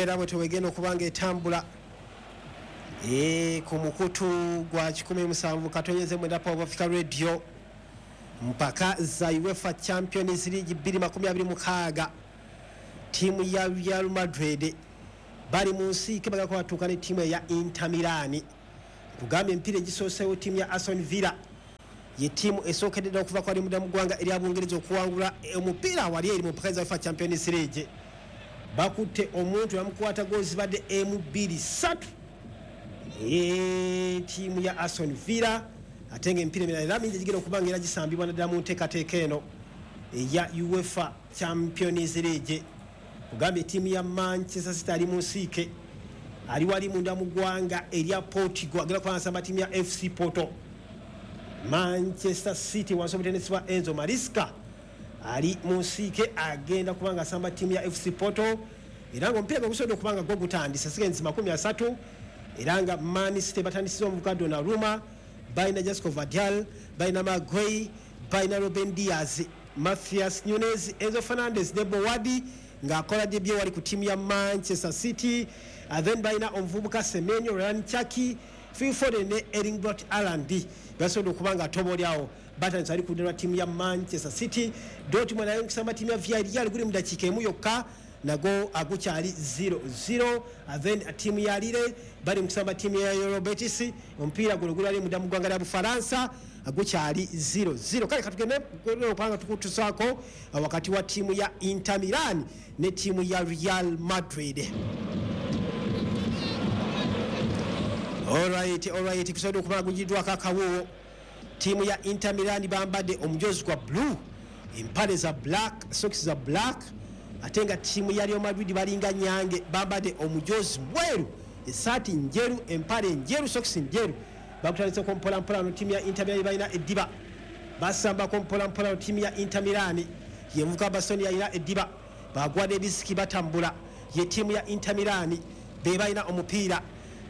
Embeera bwe tewegenda okuba nga etambula ku mukutu gwa 107.9 Power Africa Radio, mpaka za UEFA Champions League 2026. Ttiimu ya Real Madrid bali mu nsiike, bagala batuuka ne ttiimu eya Inter Milan. Kugambye emipiira egisooseewo, ttiimu ya Aston Villa ye ttiimu esookedde ddala okuva kwali munda mu ggwanga erya Bungereza okuwangula omupiira wali eri mu mpaka za UEFA Champions League. Bakutte omuntu bamukwata goal zibadde emu, bbiri, ssatu, ttiimu ya Aston Villa. Ate nga emipiira emirala era mingi egigenda okuba nga era gisambibwa naddala mu nteekateeka eno eya UEFA Champions League. Kugambye ttiimu ya Manchester City ali mu nsiike, ali wali munda mu ggwanga erya Portugal, agenda kuba nsamba ttiimu ya FC Porto. Manchester City wansi omutendesi wa Enzo Maresca ali mu nsiike, agenda kuba nga asamba ttiimu ya FC Porto, era nga omupiira gwe gusobodde okuba nga gwo gutandise seconds 30. Era nga Man City batandisiza omuvuka Donnarumma, balina Josko Gvardiol, balina Maguire, balina Ruben Dias, Matheus Nunes, Enzo Fernandez ne Bowadi ng'akola debut wali ku ttiimu ya Manchester City. Then balina omuvubuka Semenyo, Rayan Cherki, Phil Foden ne Erling Braut Haaland basobodde okuba nga atobolyawo batandise ali ku ludda lwa ttiimu ya Manchester City. Dortmund nayo nkusamba ttiimu ya Villarreal, guli mu dakiika emu yokka, nago agukyali 0-0. Then ttiimu ya Lille bali mu kusamba ttiimu ya Real Betis, omupiira guno guli ali munda mu ggwanga lya Bufalansa, gukyali 0-0. Kale katugende okubanga tukutusaako wakati wa ttiimu ya Inter Milan ne ttiimu ya Real Madrid. Alright, kusobodde okuba gugiddwako akawuwo. Ttiimu ya Inter Milan bambadde omujozi gwa blue, empale za black, socks za black, ate nga ttiimu ya Real Madrid balinga nyange, bambadde omujozi mweru, esaati njeru, empale njeru, socks njeru. Bakutandiseko mpolampola no ttiimu ya Inter Milan balina eddiba, basambako mpolampola no ttiimu ya Inter Milan. Yenvuka Bastoni yalina eddiba, bagwadde ebisiki, batambula. Ye ttiimu ya Inter Milan be balina omupiira,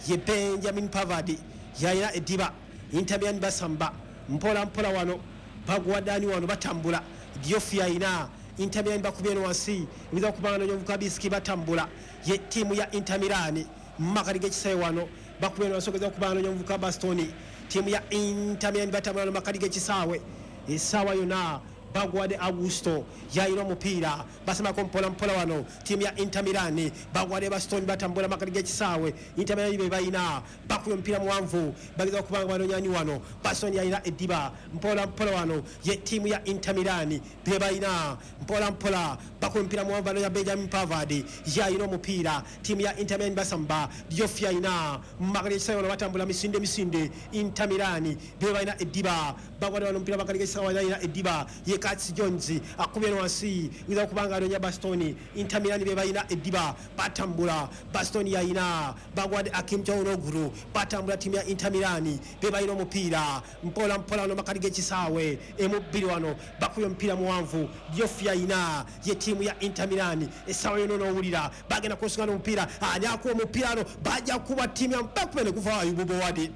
ye Benjamin Pavard yalina eddiba. Inter Milan basamba mpola mpola wano, bagwadani wano, batambula. Diouf yalina. Inter Milan bakubye eno wansi, biza kubanga nonyovuka bisiki, batambula. Ye ttiimu ya Inter Milan makati g'ekisaawe wano, bakubye eno wansi, ogeza kubanga nonyovuka Bastoni. Ttiimu ya Inter Milan batambula no makati g'ekisaawe, essaawa yonna bagwadde Augusto yayina omupiira, basamako mpola mpola wano. Ttiimu ya Inter Milan bagwadde Bastoni, batambula makati g'ekisaawe. Inter Milan be balina, bakubye omupiira muwanvu, bageza okubanga banonyani wano. Bastoni yalina eddiba, mpola mpola wano. Ye ttiimu ya Inter Milan be balina, mpola mpola bakubye omupiira muwanvu, banonya Benjamin Pavard yalina omupiira. Ttiimu ya Inter Milan basamba, Diouf yalina makati g'ekisaawe wano, batambula misinde misinde. Inter Milan be balina eddiba, bagwadde wano omupiira makati g'ekisaawe, yalina eddiba ye Curtis Jones, akubye eno wansi, wiza okubanga anonya Bastoni. Inter Milan be balina eddiba, batambula. Bastoni yalina, bagwadde Hakan Calhanoglu, batambula. Ttiimu ya Inter Milan be balina omupiira, mpola mpola wano makati g'ekisaawe, emu bbiri wano, bakubye omupiira muwanvu. Diouf yalina. Ye ttiimu ya Inter Milan, essaawa yonna onoowulira bagenda kunsonga n'omupiira. Ani akuba omupiira ano? Bajja kuba ttiimu ya bakube ne guvaawo. Ayubu Bowadi,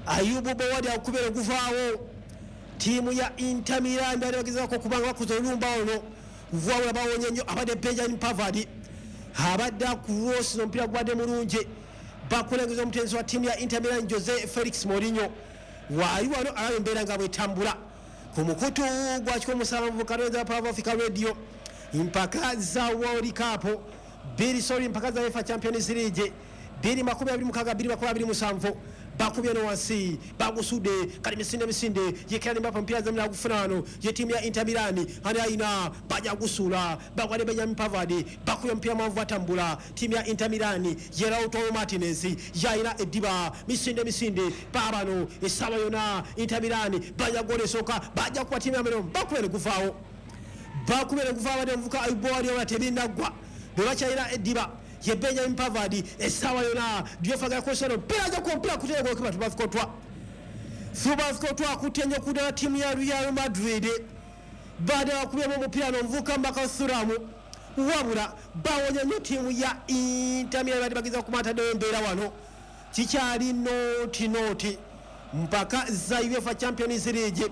Ayubu Bowadi akubye ne guvaawo. Ttiimu ya Inter Milan bali bagezaako okubanga bakuza olumba ono, wabula bawonye nnyo. Abadde Benjamin Pavard abadde akurosina, omupiira gubadde mulungi. Bakulengeza omutendesi wa ttiimu ya Inter Milan, Jose Felix Mourinho, waali wano alaba embeera nga bwetambula ku mukutu gwa 107.9 Power Africa Radio. Mpaka za World Cup bbiri, sorry, mpaka za UEFA Champions League 2026 2027. Bakubye no wansi, bagusudde kali misinde misinde. Ye Kylian Mbappe omupiira zamira gufuna wano. Ye ttiimu ya Inter Milan ani ayina? Bajja gusuula, bagwadde Benjamin Pavard, bakubye omupiira mwanvu, batambula. Ttiimu ya Inter Milan, ye Lautaro Martinez yayina eddiba, misinde misinde baabano. Essaawa yonna Inter Milan bajja gola esooka, bajja kuba ttiimu ya Milan, bakubye ne guvaawo, bakubye ne guvaawo. Abadde omuvuka Ayubu Wali tebinnagwa, bwe bakyalina eddiba, ye Benjamin Pavard. Essaawa yonna Diouf agala mpira, ajja kuba omupiira kuteeka gokiba Thibaut Thibaut akutte nnyo kudala ttiimu ya Real Madrid. Baada bakubyemu omupiira n'omuvuka Marcus Thuram, wabula bawonya nnyo ttiimu ya Inter Milan. Badde bageza kumataddeyo embeera wano, kikyali 0-0. Mpaka za UEFA Champions League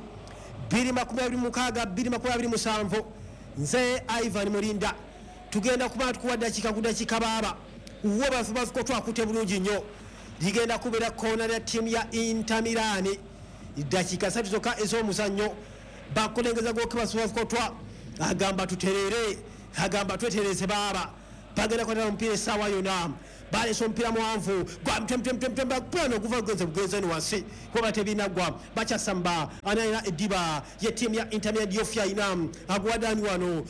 2026 2027. Nze Ivan Murinda, tugenda kuba tukuwa dakiika ku dakiika baaba. Wobafubafuko twakute bulungi nnyo. Ligenda kubeera koona lya ttiimu ya Inter Milan. Dakiika 3 zokka ez'omuzannyo. Bakulengeza gokibasubafukotwa agamba tuterere, agamba twetereze baaba. Bagenda kwatala omupiira essaawa yonna. Baleese omupiira muwanvu gwa mtemtemtemtemplano oguva gugenze bugenze eno wansi kuba tebinaggwa. Bakyasamba ani alina eddiba ye ttiimu ya Inter Milan. Diouf alina aguwadani wano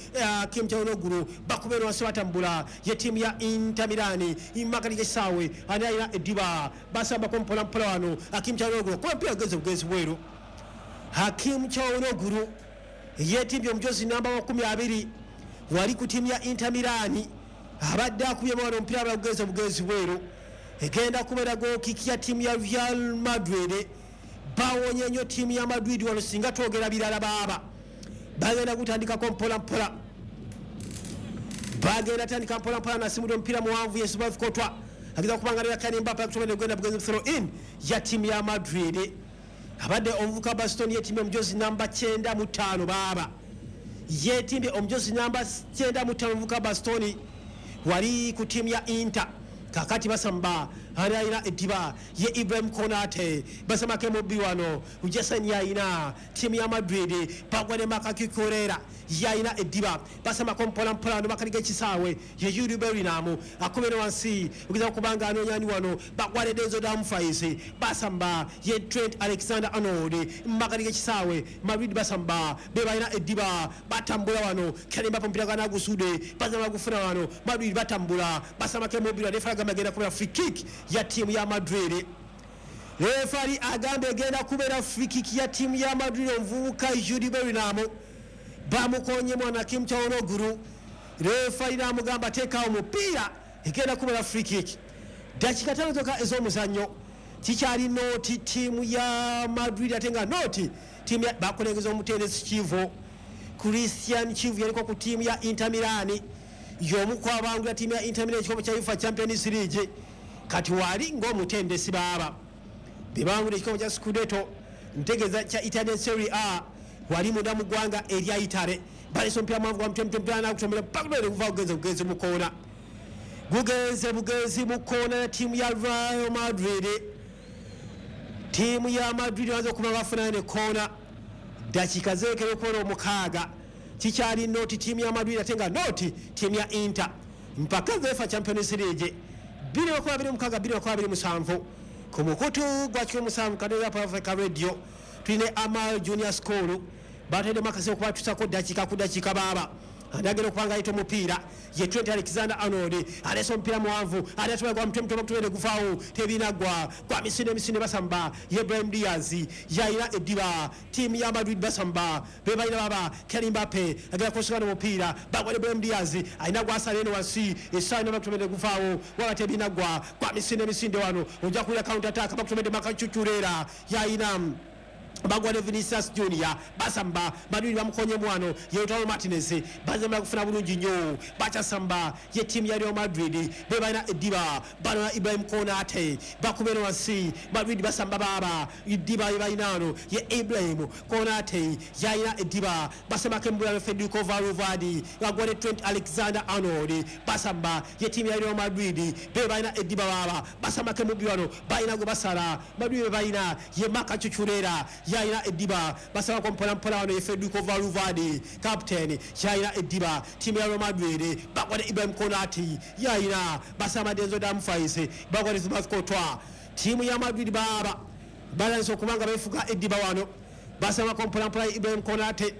Kim Chaunoglu bakuba eno wansi batambula ye ttiimu ya Inter Milan. Makati g'essaawe ani alina eddiba basambako mpola mpola wano Hakim Chaunoglu kuba omupiira gugenze bugenzi bweru. Hakim Chaunoglu yeetimbye omujozi namba 20 wali ku ttiimu ya Inter Milan. Abadde akubye wano omupiira bagugenze bugenzi bweru. Egenda kubeera goal kick ya ttiimu ya Real Madrid. Bawonye nnyo ttiimu ya Madrid wano singa twogera birala baaba. Bagenda kutandikako mpola mpola, bagenda tandika mpola mpola. Nasimudde omupiira muwanvu yesubafukotwa ageza kubanga lya Kylian Mbappe akutomera genda bugenzi throw in ya ttiimu ya Madrid. Abadde omuvuka Baston yetimbye omujozi namba 95 baaba. Yetimbye omujozi namba 95 omuvuka Bastoni wali ku ttiimu ya Inter. Kakati basamba ani alina eddiba ye Ibrahim Konate basamako emubi wano Jason yalina ttiimu ya Madrid. Bagwa ne Makakikorera yalina eddiba basamako mpola mpola wano bakaliga ekisaawe ye Jude Bellingham akubera wansi ogeza kubanga anoonyani wano bagwa ne Denzel Dumfries basamba ye Trent Alexander-Arnold makaliga ekisaawe. Madrid basamba be balina eddiba batambula wano Kylian Mbappe omupiira gwanagusudde bazama gufuna wano Madrid batambula basamako emubi wano. Refa agamba egenda kubeera free kick ya ttiimu ya Madrid. Refari agamba egenda kubeera free kick ya ttiimu ya Madrid. Omuvubuka Jude Bellingham bamukonye mwana Kim Chaunoglu. Refari n'amugamba teekawo omupiira, egenda kubeera free kick. Dakiika 5 zokka ez'omuzannyo. Kikyali nought ttiimu ya Madrid ate nga nought ttiimu ya bakulengeza omutendesi Chivu. Christian Chivu yaliko ku ttiimu ya Inter Milan, y'omu ku abangula ttiimu ya Inter Milan ekikopo kya UEFA Champions League. Kati wali ng'omutendesi baaba bebangula ekikopo kya Scudetto, ntegeeza kya Italian Serie A, wali munda mu ggwanga erya Italy. Baleese omupiira muwanvu gwa mtemtemtemplano nakutomera pakudere kuva gugenze bugenzi mu koona, gugenze bugenzi mu koona ya ttiimu ya Real Madrid. Ttiimu ya Madrid baza okuba bafunayo ne koona. Dakiika zeekera okukola 6. Kikyali nought ttiimu ya Madrid ate nga nought ttiimu ya Inter. Mpaka UEFA Champions League 2026 2027 ku mukutu gwa 17 Kadeza Africa Radio. Tulina Amal Junior School bateddemu akaseera okubatusako dakiika ku dakiika baaba. Andagenda okubanga ayita omupiira ye Trent Alexander-Arnold aleese omupiira muwanvu ate atwala gwa mutwe mutwe bakutwere guvaawo tebinaggwa gwa misinde emisinde basamba ye Brahim Diaz yalina eddiba ttiimu ya Madrid basamba be balina baba Kylian Mbappe agenda kusigana omupiira bagwa ne Brahim Diaz alina gwasala eno wansi essaawa ino bakutomedde guvaawo waba tebinaggwa gwa misinde emisinde wano ojja kuwulira counter attack bakutomedde Makachuchurera yalina bagwa ne Vinicius Junior basamba Madrid bamukonye mwano ye Lautaro Martinez bazemera kufuna bulungi nnyo bakyasamba ye ttiimu ya Real Madrid be balina eddiba bano Ibrahim Konate bakubera wansi Madrid basamba baaba eddiba ye balina wano ye Ibrahim Konate yalina eddiba basambako embula Federico Valverde bagwa ne Trent Alexander-Arnold basamba ye ttiimu ya Real Madrid be balina eddiba baaba basambako emubi wano balina gwe basala Madrid be balina ye Makachuchurera yalina eddiba basabako mpola mpola wano ye Federico Valverde captain yalina eddiba ttiimu ya Real Madrid bagwa ne Ibrahim Konate yalina basamba Denzel Dumfries bagwa ne Thibaut Courtois. Ttiimu ya Madrid baaba balansa okubanga beefuga eddiba wano basambako mpola mpola Ibrahim Konate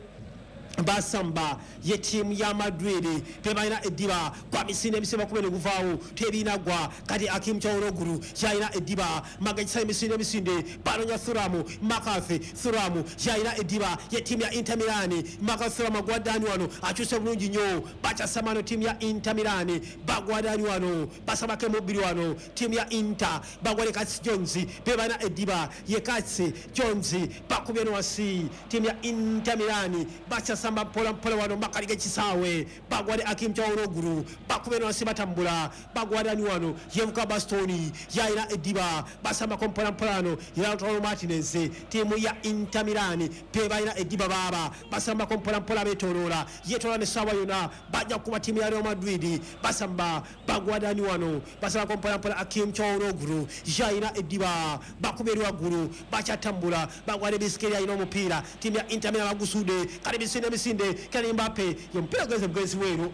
basamba ye ttiimu ya Madrid be balina eddiba gwa misinde emisinde bakube ne guvaawo tebinaggwa. Kati Hakim Chaunoglu yalina eddiba magagisa emisinde emisinde banonya Thuram Makafi Thuram yalina eddiba ye ttiimu ya Inter Milan. Makafi Thuram agwa dani wano akyuse bulungi nnyo bakyasamano ttiimu ya Inter Milan bagwa dani wano basabako emubiri wano ttiimu ya Inter bagwa ne Curtis Jones be balina eddiba ye Curtis Jones bakubye no wansi ttiimu ya Inter Milan bakyasamba. Basamba mpola mpola wano makali g'ekisaawe, bagwade Akim Chauroguru, bakube wansi batambula, bagwade ani wano Yevuka Bastoni yayina eddiba, basambako mpola mpola wano Lautaro Martinez. Ttiimu ya Inter Milan pe balina eddiba baaba, basambako mpola mpola beetooloola, yeetoola n'essaawa yonna bajja kukuba ttiimu ya Real Madrid. Basamba bagwade ani wano, basambako mpola mpola Akim Chauroguru yayina eddiba, bakuba eri waggulu, bakyatambula, bagwade Bisikeri alina omupiira. Ttiimu ya Inter Milan bagusudde kale misinde misinde, Kylian Mbappe omupiira gugenze bugenzi bweru.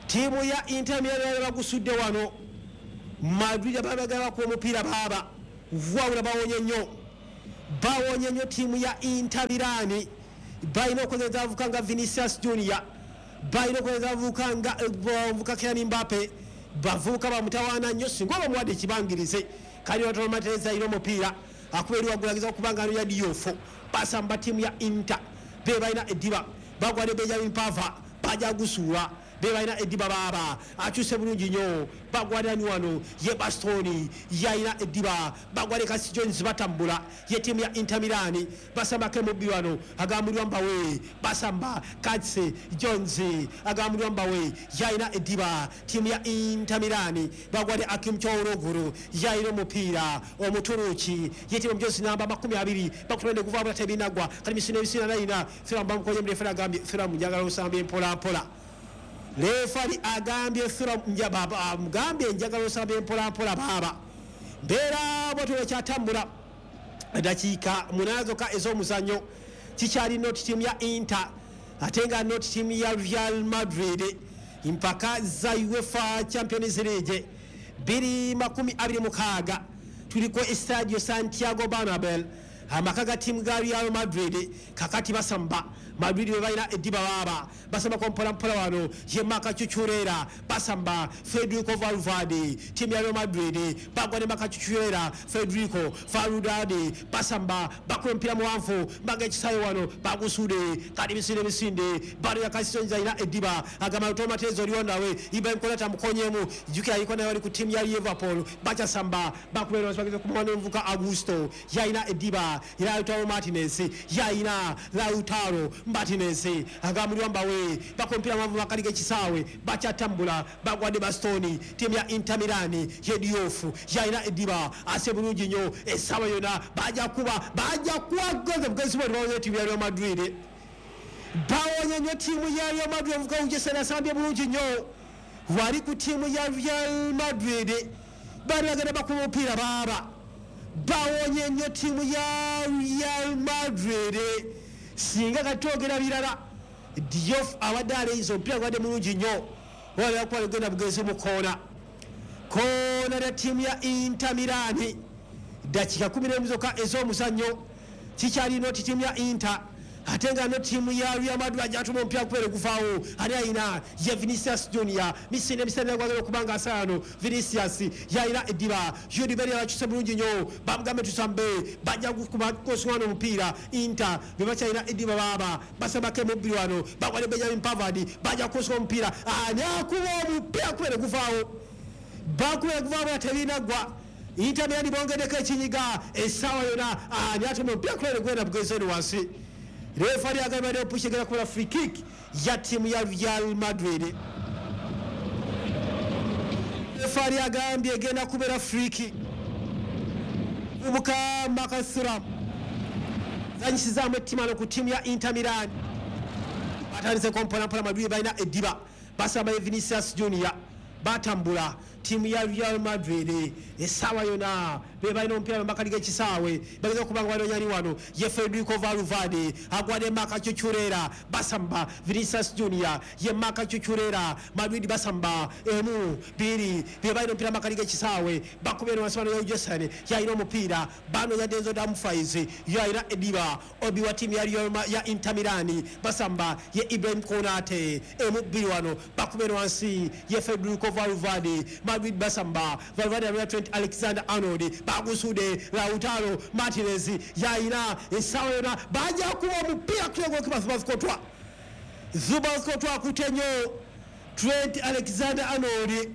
Ttiimu ya Inter Milan bagusudde wano, Madrid abagala bakuba omupiira baaba, wabula bawonye nnyo, bawonye nnyo ttiimu ya Inter Milan. Balina okukozesa abavubuka nga Vinicius Junior, balina okukozesa abavubuka nga bavubuka Kylian Mbappe, bavubuka bamutawaana nnyo singa oba omuwadde ekibangirize. Kali Lautaro Martinez alina omupiira, akuba eri waggulu, ageza okuba nga ya Diouf. Basamba ttiimu ya Inter be balina eddiba, bagwade Benjamin Pavard, bajja gusuula, be balina eddiba baaba, akyuse bulungi nnyo, bagwade ani wano ye Bastoni yayina eddiba, bagwade Kasi Jones, batambula ye ttiimu ya Inter Milan. Basambako emubbi wano, agambulwa Mbawe, basamba Katse Jones, agambulwa Mbawe yayina eddiba. Ttiimu ya Inter Milan bagwade Akim Chauroguru yayina omupiira, Omuturuki ye ttiimu Jones namba 20, bakutwende kuva bula tebinagwa. Kali misino ebisina nayina Thuram, bamukonye murefera, agambye Thuram njagala osambye mpola mpola. Refari agambye Thuram amugambye njagala osambye mpola mpola baaba. Mbeera bwetyo kyatambula, dakiika 8 zokka ez'omuzannyo, kikyali not ttiimu ya Inter ate nga not ttiimu ya Real Madrid, mpaka za UEFA Champions League 2026. Tuliko Estadio Santiago Bernabeu, amaka ga ttiimu ga Real Madrid. Kakati basamba Madrid be balina eddiba baaba, basambako mpola mpola wano ye Marc Cucurella, basamba Federico Valverde. Ttiimu ya Real Madrid bagwa ne Marc Cucurella, Federico Valverde, basamba bakuba omupiira muwanvu mbaga ekisawe wano, bagusudde kati misinde misinde, bano ya Kasisonza alina eddiba, agamba Lautaro Martinez oliwo nawe Ibrahim Konate amukonyemu, jjukira aliko naye wali ku ttiimu ya Liverpool. Bakyasamba, bakuba bageza kumuwa omuvuka Augusto yalina eddiba, Lautaro Martinez yalina, Lautaro Martinez agambulwa Mbawe, bakuba omupiira muwanvu makali g'ekisaawe, bakyatambula, bagwadde Bastoni. Ttiimu ya Inter Milan ye Diouf yalina eddiba, ase bulungi nnyo, essaawa yonna bajja kuba, bajja kuwa goze bugenzi bwe, bawonye ttiimu ya Real Madrid, bawonye nnyo ttiimu ya Real Madrid. Omuvuka Ujesena asambye bulungi nnyo wali ku ttiimu ya Real Madrid, bali bagenda bakuba omupiira baaba, bawonye nnyo ttiimu ya Real Madrid. Singa kati twogera birala, Diouf abadde aleyiza omupiira gubadde mulungi nnyo, wala genda bugenzi mu koona, koona lya ttiimu ya Inter Milan. Dakiika 11 zokka ez'omuzannyo, kikyali not ttiimu ya Inter ate nga no ttiimu ya Real Madrid. Ajatuma omupiira kubeere guvaawo, ani ayina ye Vinicius Junior, misinde misinde gwagala okuba nga asaano. Vinicius yayina eddiba, Jude Bellingham akyuse bulungi nnyo, bamugambe tusambe, bajja koswana omupiira. Inter be bakyalina eddiba baaba, basambako emubiri wano, bagwale Benjamin Pavard, bajja kukoswa omupiira, ani akuba omupiira kubeere guvaawo, bakubeere guvaawo, tebinaggwa. Inter Milan bongeddeko ekinyiga essaawa yonna, ani atuma omupiira kubeere gwenda bugenzi eno wansi. Refari agamba ne push, egenda kukola free kick ya ttiimu ya Real Madrid. Refari agambye egenda kubeera free kick. Buka Marcus Thuram zanyisizaamu ettimano ku ttiimu ya Inter Milan. Batandiseko mpolampola, Madrid balina eddiba, basamba ye Vinicius Junior, batambula ttiimu ya Real Madrid, essaawa yonna be balina omupiira makali g'ekisaawe, bageza okuba nga banoonya wano ye Federico Valverde, agwadde Marc Cucurella, basamba Vinicius Junior ye Marc Cucurella. Madrid basamba emu bbiri, be balina omupiira makali g'ekisaawe, bakubye eno wansi wano ya Jason yalina omupiira, banoonya Denzel Dumfries yalina eddiba, obi wa ttiimu ya Inter Milan, basamba ye Ibrahim Konate, emu bbiri wano, bakubye eno wansi ye Federico Valverde. Madrid basamba Valverde alina Trent Alexander Arnold, bagusude Lautaro Martinez yayina, essaawa yonna bajja kuba omupiira kuyogokibathubazikotwa zubazikotwa akute nnyo Trent Alexander Arnold.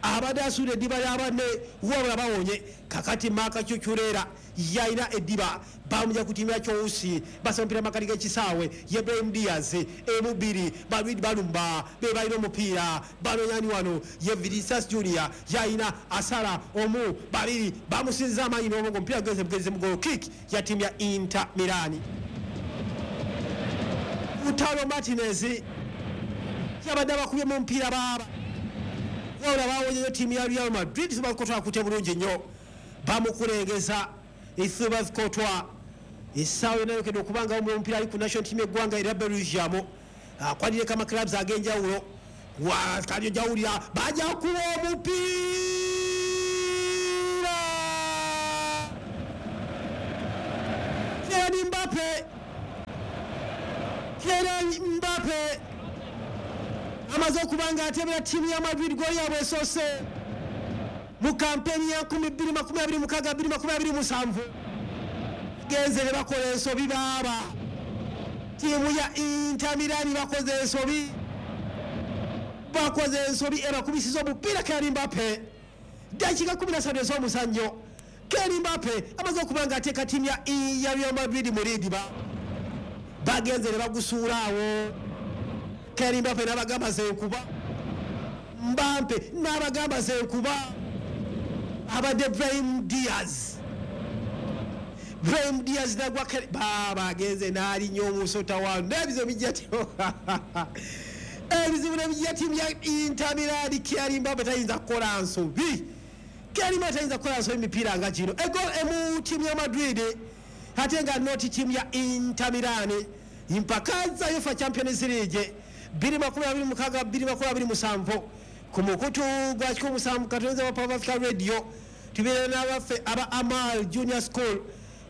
Abadde asuula eddiba lyabanne, wabula bawonye. Kakati Maka Cucurera yalina eddiba, bamuja ku ttiimu ya Chelsea. Basa omupiira makati g'ekisaawe, ye Brahim Diaz emubiri. Madrid balumba, be balina omupiira, banonyani wano ye Vinicius Junior yalina, asala omu, babiri, bamusinza amaanyi n'obwongo, omupiira gugenze bugenze mu goal kick ya ttiimu ya Inter Milan. Lautaro Martinez yabadde abakubye mu mupiira baaba, wabula bawonyeyo ttiimu ya Real Madrid. Thibaut Courtois akutte bulungi nnyo, bamukulengeza Thibaut Courtois. Essaawa yonna yokedde okuba nga omupiira ali ku national team eggwanga erya Belgium, akwanireko amaclubs ag'enjawulo. Kali ojawulira bajja kuwa omupiira Kylian Mbappe. Kylian Mbappe amaze okuba nga atebera ttiimu ya Madrid goli yabwe esoose mu kampeni ya 2026 2027. Genze ne bakola ensobi baaba, ttiimu ya Inter Milan bakoze ensobi, bakoze ensobi ebakubisiza omupiira Kylian Mbappe. Dakiika 13 ez'omuzannyo, Kylian Mbappe amaze okuba nga ateeka ttiimu ya Real Madrid mu lead. Bagenze ne bagusuula awo. Kylian Mbappe n'abagamba zenkuba, Mbappe n'abagamba zenkuba. Abadde Brahim Diaz, Brahim Diaz nagwa, baaba agenze n'alinnya omusota wano n'ebizibu bijja, ebizibu nebijja ttiimu ya Inter Milan. Kylian Mbappe tayinza kukola nsobi, Kylian Mbappe tayinza kukola nsobi mipiira nga gino. Egol emu ttiimu ya Madrid, ate nga noti ttiimu ya Inter Milan. Mpaka za UEFA Champions League 2026 2027 ku mukutu gwa 17 katonza wa Power Africa Radio. Tubeera n'abaffe aba Amal Junior School,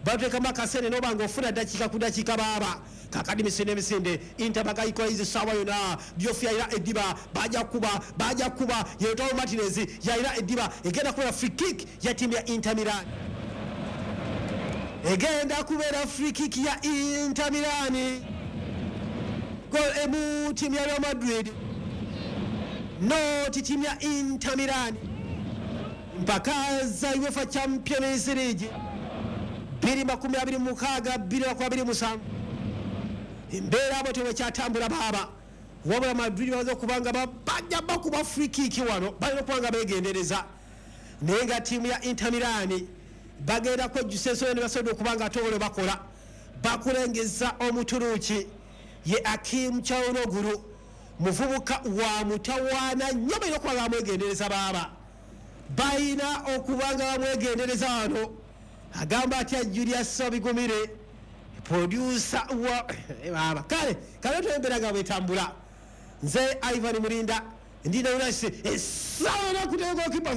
bateekamu akasente noba nga ofuna dakiika ku dakiika baaba. Kakadi misinde emisinde, Inter bagayikola saawa yonna. Diouf yalina eddiba, bajja kuba, bajja kuba. Ye Lautaro Martinez yalina eddiba, egenda kubeera free kick ya ttiimu ya Inter Milan, egenda kubeera free kick ya Inter Milan. Gol emu ttiimu ya Real Madrid, noti ttiimu ya Inter Milan. Mpaka za UEFA Champions League 2026 2027, embeera abo tewekyatambula baaba, wabula Madrid bamaze okuba nga bajja bakuba free kick wano, balina okuba nga begendereza. Naye nga ttiimu ya Inter Milan bagenda kwejjusa ensonga ne basobodde okuba nga ate olwo bakola bakulengeza. Omuturuki ye Hakim Calhanoglu, muvubuka wa mutawaana nnyo, balina okuba nga bamwegendereza baaba, balina okuba nga bamwegendereza wano. Agamba atya Julius Sobigumire, producer wa baaba? Kale kale twembeera nga bwetambula. Nze Ivan Murinda, ndina unasi esawa nakutegokipa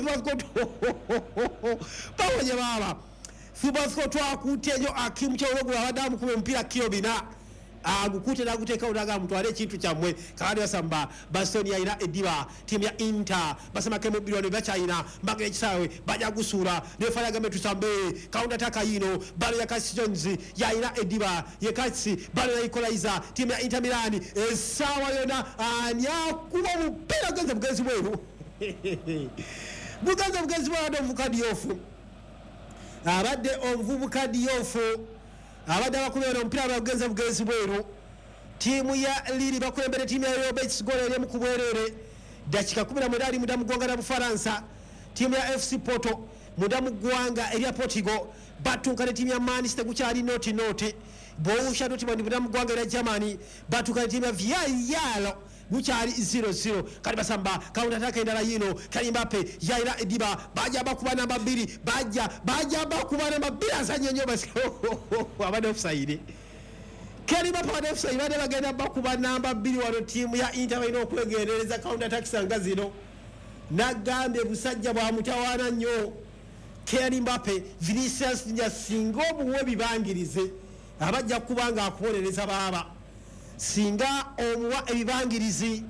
bawonye baaba. Thibaut twakutte nyo Hakim Calhanoglu, abadde amukuba omupiira kiro 4, agukute naguteekawo naga mutwale ekintu kyammwe. Kakati basamba, Bastoni yalina eddiba, ttiimu ya Inter basamako emubiri wano, bakyalina mbagera ekisaawe, bajja gusuula. Referee agambe tusambe counter attack yino. Balo ya Curtis Jones, yalina eddiba ye Curtis, balo ya equalizer ttiimu ya Inter Milan. Essaawa yonna ani akuba omupiira? Bugenze bugenzi bweru, bugenze bugenzi bweru. Abadde omuvubuka Diouf, abadde omuvubuka Diouf abadde abakubeera omupiira, bagenze bugenzi bweru. Ttiimu ya Lille bakulembere ttiimu ya Real Betis goolo eri ku bwereere, dakika 19 ali munda mu ggwanga lya Bufalansa. Ttiimu ya FC Porto munda mu ggwanga erya Portugal batuuka ne ttiimu ya Man City, gukyali 0-0. Borussia Dortmund munda mu ggwanga erya Germany batuuka ne ttiimu ya Villarreal, gukyali 0-0. Kati basamba counter attack endala yino. Kylian Mbappe yalina eddiba, bajja bakuba namba 2, bajja bakuba namba 2, azanye nnyo, abadde offside. Kylian Mbappe abadde offside, badde bagenda bakuba namba 2 wano. Ttiimu ya Inter balina okwegendereza counter attacks nga zino. Nagambye busajja bwa mutawaana nnyo Kylian Mbappe. Vinicius Junior singa omuwa ebibangirize abajja kuba nga akubonereza baaba, singa omuwa ebibangirizi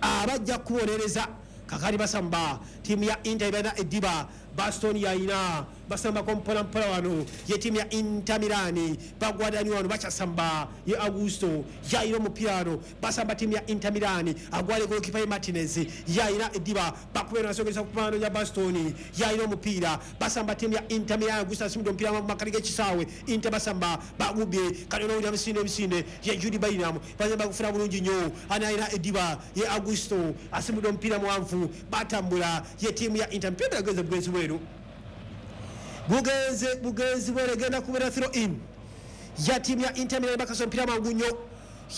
abajja kubonereza. Kakati basamba Ttiimu ya Inter balina eddiba, Bastoni yayina, basambako mpola mpola wano. Ye ttiimu ya Inter Milan bagwadani wano, bakyasamba. Ye Augusto yayina omupiira wano, basamba ttiimu ya Inter Milan. Agwale golokipa ye Martinez yayina eddiba, bakubeera nasogeza kumano ya Bastoni yayina omupiira, basamba ttiimu ya Inter Milan. Augusto asimudde omupiira mu makati g'ekisaawe. Inter basamba, bagubye kati onowulira misinde emisinde. Ye Jude Bellingham bazamba kufuna bulungi nnyo. Ani ayina eddiba? Ye Augusto asimudde omupiira muwanvu, batambula. Ye ttiimu ya Inter, mpira genze bugenzi bweru, bugenze bugenzi bweru, egenda kubeera throw in ya ttiimu ya Inter Milan. Bakasa omupiira mangu nnyo.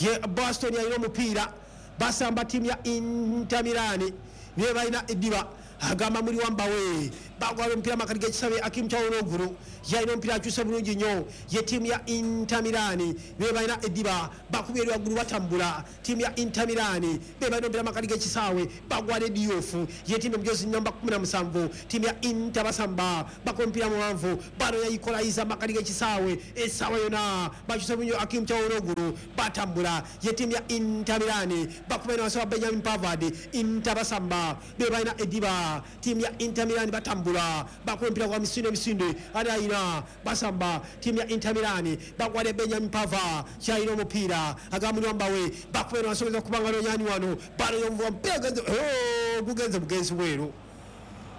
Ye Boston yalina omupiira, basamba ttiimu ya Inter Milan, naye balina eddiba. Agamba muli wambawe, bagwala omupiira makati g'ekisabe. Hakim Çalhanoğlu yalina omupiira, akyuse bulungi nnyo. Ye ttiimu ya Inter Milan be balina eddiba, bakubye eri waggulu, batambula. Ttiimu ya Inter Milan be balina omupiira makati g'ekisaawe, bagwala Diouf. Ye ttiimu omujozi namba 17. Ttiimu ya Inter basamba, bakuba omupiira muwanvu, bano yayikolayiza makati g'ekisaawe. Essaawa yonna bakyuse bulungi. Hakim Çalhanoğlu, batambula. Ye ttiimu ya Inter Milan bakuba eno wansi wa Benjamin Pavard. Inter basamba, be balina eddiba. Ttiimu ya Inter Milan batambula, bakuba omupiira gwa misinde emisinde. Ani ayina? Basamba ttiimu ya Inter Milan, bagwale Benjamin Pavard kyalina omupiira. Agamba mbawe, bakuba eno asobola kubanga nonyani wano, bano yomuvuga omupiira gugenze, oh, gugenze bugenzi bweru,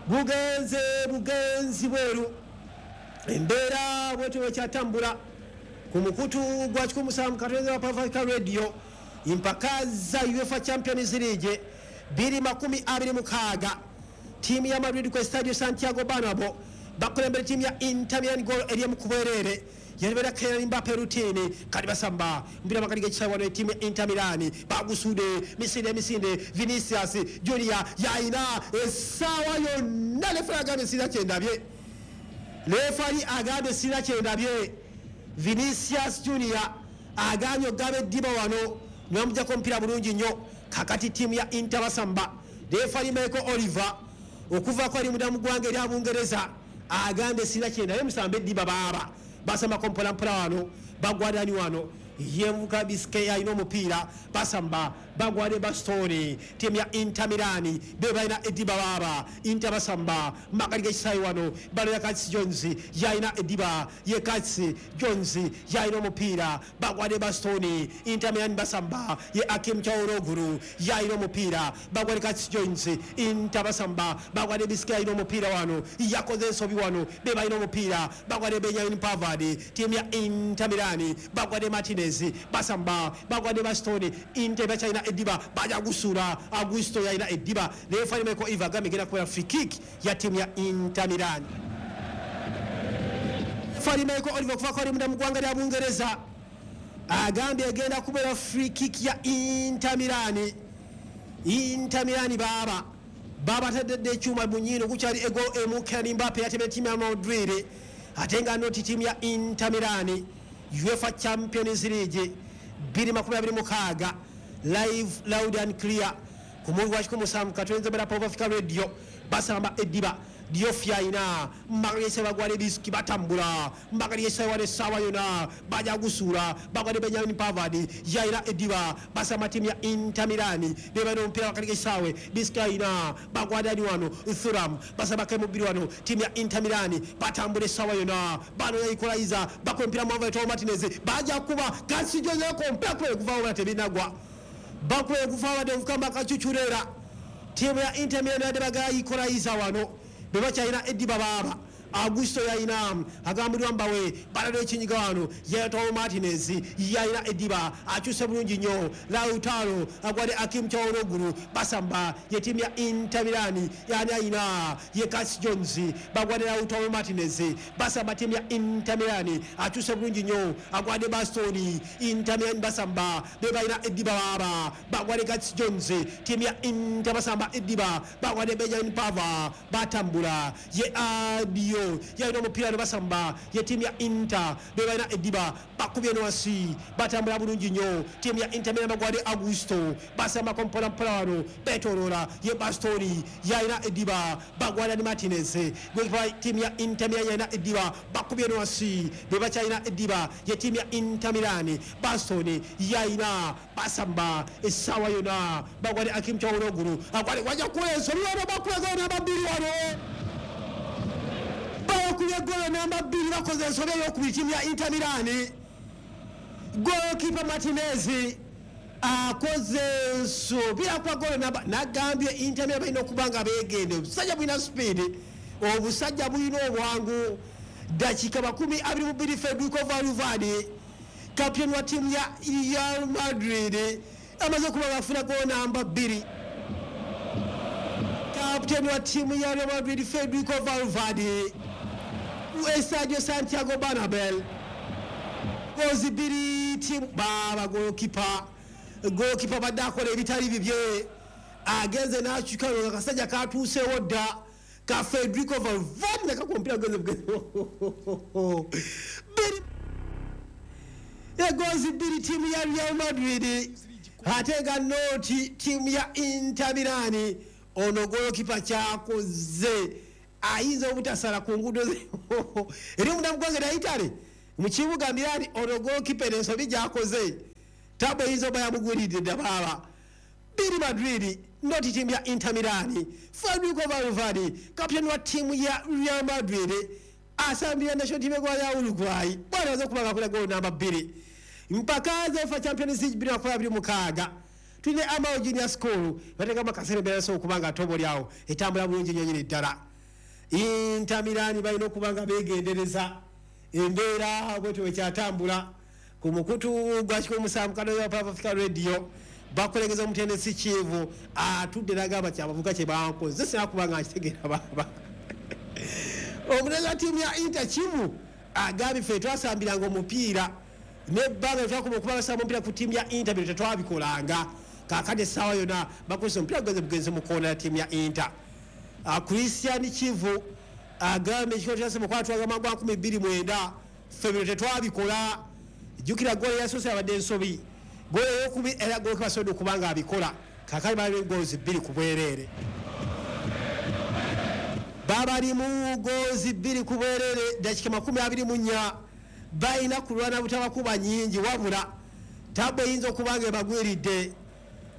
bugenze bugenzi bweru. Embeera bwetyo bwekyatambula ku mukutu gwa 17 wa Pavaka Radio. Impaka za UEFA Champions League 2026, ttiimu ya Madrid ku Estadio Santiago Bernabeu bakulembera ttiimu ya Inter Milan goal eri mu kubwereere, yalibeera Kylian Mbappe rutini. Kati basamba mpira makati g'ekisaawe wano. Ttiimu ya Inter Milan bagusude misinde emisinde. Vinicius Junior yayina, essaawa yonna lefali agambye sirina kyendabye, lefali agambye sirina kyendabye. Vinicius Junior agambye ogaba eddiba wano, nibamugjako omupiira bulungi nnyo. Kakati ttiimu ya Inter basamba. Lefali Michael Oliver okuvaako ali munda mu ggwanga erya Bungereza agambye sirina kyendabye, musambe eddiba baaba. Basambako mpolampola wano, bagwadani wano. Yemuka Bisquet alina omupiira, basamba, bagwade Bastoni. Ttiimu ya Inter Milan be balina eddiba baaba. Inter basamba makati g'ekisaawe wano, baloya Curtis Jones yalina eddiba. Ye Curtis Jones yalina omupiira, bagwade Bastoni. Inter Milan basamba. Ye Hakim Çalhanoğlu yalina omupiira, bagwade Curtis Jones. Inter basamba, bagwade Bisquet alina omupiira wano, yakoze ensobi wano. Be balina omupiira, bagwade Benjamin Pavard. Ttiimu ya Inter Milan bagwade Martinez, basamba, bagwade Bastoni. Inter bakyalina eddiba, baja gusuula. Augusto yalina eddiba. Referee Michael Oliver agambye egenda kubeera free kick ya ttiimu ya Inter Milan. Referee Michael Oliver okuvaako ali munda mu ggwanga lya Bungereza agambye egenda kubeera free kick ya Inter Milan. Inter Milan baaba babatadde ekyuma mu nnyindo. Gukyali ego emu. Kylian Mbappe yatemera ttiimu ya Madrid, ate nga noti ttiimu ya Inter Milan. UEFA Champions League 2026, live, loud and clear ku mundi gwa 17 bera Pop Africa Radio. Basamba eddiba, Diouf yayina mbagalese, bagwale Bisquet, batambula mbagalese wale. Essaawa yonna baja gusuula, bagwale Benjamin Pavard yayina eddiba. Basamba ttiimu ya Inter Milan, be balina omupiira wakati g'ekisaawe. Bisquet yayina, bagwadani wano. Thuram basambako emubiri wano. Ttiimu ya Inter Milan batambula, essaawa yonna bano yayikolayiza, bakuba omupiira muwanvu. Lautaro Martinez baja kuba kasijozeko omupiira kuba guvaawo bala tebinagwa, bakuba guvaawo badde omukamba kacucurera. Ttiimu ya Inter Milan yadde bagala yikolayiza wano, be bakyalina eddiba baaba. Augusto yayina, agambulwa mbawe balalo ekinyiga wano. Lautaro Martinez yayina eddiba, akyuse bulungi nnyo. Lautaro agwade Hakim Çalhanoğlu, basamba. Ye ttiimu ya Inter Milan, yani ayina ye Curtis Jones, bagwade Lautaro Martinez. Basamba ttiimu ya Inter Milan, akyuse bulungi nnyo, agwade Bastoni. Inter Milan basamba, be balina eddiba baaba, bagwade Curtis Jones. Ttiimu ya Inter basamba eddiba, bagwade Benjamin Pavard, batambula. Ye ddyo yalina omupiira ne basamba ye ttiimu ya Inter be balina eddiba, bakubye wansi, batambula bulungi nnyo. Ttiimu ya Inter Milan bagwade Augusto, basambako mpolampola wano, betoloola ye Bastoni yalina eddiba, bagwada ne Martinez. Golikipa ttiimu ya Inter Milan yalina eddiba, bakubye wansi, be bakyalina eddiba ye ttiimu ya Inter Milan. Bastoni yalina, basamba essaawa yonna, bagwade Hakim Çalhanoğlu, agwade wajja kukola ensobi wano, bakuba goolo namba 2 wano, bakubye goolo namba 2, bakoze ensobi ey'okubiri ttiimu ya Inter Milan. Goalkeeper Martinez akoze ensobi, akuba goolo namba, nagambye Inter Milan balina okuba nga beegende, obusajja bulina speed, obusajja bulina obwangu. Dakika 22 Federico Valverde kapiteni wa ttiimu ya Real Madrid amaze okuba nga afuna goolo namba 2. Kapiteni wa ttiimu ya Real Madrid Federico Valverde, Estadio Santiago Bernabeu, gozi 2 ttiimu baba. Goalkeeper badde akola ebitali bibye, agenze n'akyuka nga akasajja katuuseewo dda ka Federico Valverde nakakuba omupiira gugenze bugenze bbiri, egozi 2 ttiimu ya Real Madrid ate nga noti ttiimu ya Inter Milan. Ono goalkeeper kyakoze ayinza obutasala ku nguudo eri omunda mu ggwanga lya Italy mu kibuga Milan. Ono goalkeeper ensobi gy'akoze tabu eyinza oba yamugwiridde dda baaba. 2 Madrid noti ttiimu ya Inter Milan. Federico Valverde kapiteni wa ttiimu ya Real Madrid asambira national team egwa ya Uruguay bwana aza okuba nga akola goolo namba 2. Mpaka za Champions League 2026 tulina Amao Junior School bateekamu akaseera embeera so okuba nga atobo lyawo etambula bulungi nnyo nnyini ddala. Inter Milan balina okuba nga beegendereza embeera bwetyo bwekyatambula ku mukutu gwa 107 Kano Papa Africa Radio. Bakulengeza omutendesi Kivu atudde n'agamba kyabavuga kye bankoze sina kuba nga nkitegeera baaba. Omutendesi wa ttiimu ya Inter Kivu agambye ffe twasambiranga omupiira nebbanga twakuba okuba basamba omupiira ku ttiimu ya Inter bino tetwabikolanga. Kaakati essaawa yonna bakozesa omupiira gugenze bugenze mu koona ya ttiimu ya Inter. Christian Kivu agambye ekikolo kyase mu kwatwaga gwa 2009 ffe bino tetwabikola. Jjukira goolo yasoose abadde ensobi, goolo ey'okubiri era goolo basobodde okuba nga abikola. Kaakati bali goals 2 ku bwereere, babalimu goals 2 ku bwereere. Dakika 24 balina kulwana butabakuba nnyingi, wabula tabu eyinza okuba nga ebagwiridde.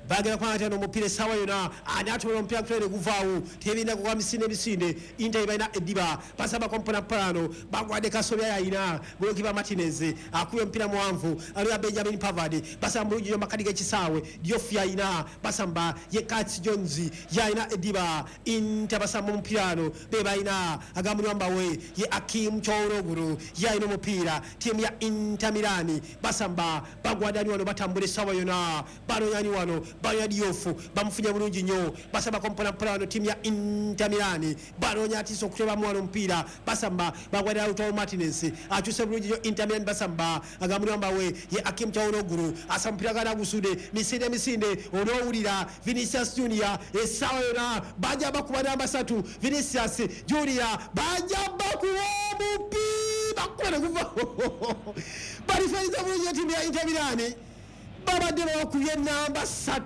Bagenda kuba n'omupiira essaawa yonna, ani atobola omupiira kutwere guvaawo, tebirina kugwa misinde emisinde. Inter balina eddiba, basambako mpolampola bagwadde Kasobya yalina goalkeeper Martinez akubye omupiira muwanvu aliya Benjamin Pavard, basamba bulungi nnyo makati g'ekisaawe. Diouf yalina, basamba ye Curtis Jones yalina eddiba. Inter basamba omupiira wano be balina agamunyambawe ye Hakim Çalhanoğlu yalina omupiira. Ttiimu ya Inter Milan basamba bagwadani wano, batambula essaawa yonna, banonyani wano, banoonya Diouf bamufunye bulungi nnyo, basambako mpolampola wano. Ttiimu ya Inter Milan banoonya atiisa okutebamu wano omupiira, basamba bagwadde Lautaro Martinez akyuse bulungi nnyo. Inter Milan basamba agamunyambawe ye Hakim Çalhanoğlu asa omupiira gana gusudde misinde misinde, onoowulira Vinicius Junior essaawa yonna bajja bakuba namba 3. Vinicius Junior bajja bakuba omupiira bakuba ne guva balifaniza bulungi. Ttiimu ya Inter Milan babadde bakubye namba 3,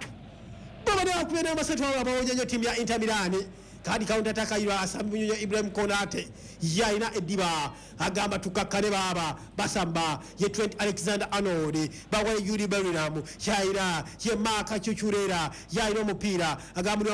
babadde bakubye namba 3, wabula bawonya nnyo ttiimu ya Inter Milan. Kandi counter attack ayirwa asamba nnyo Ibrahim Konate yalina eddiba, agamba tukakkane baaba. Basamba ye Trent Alexander Arnold, bagwa Jude Bellingham yalina, ye Marc Cucurella yalina omupiira agamba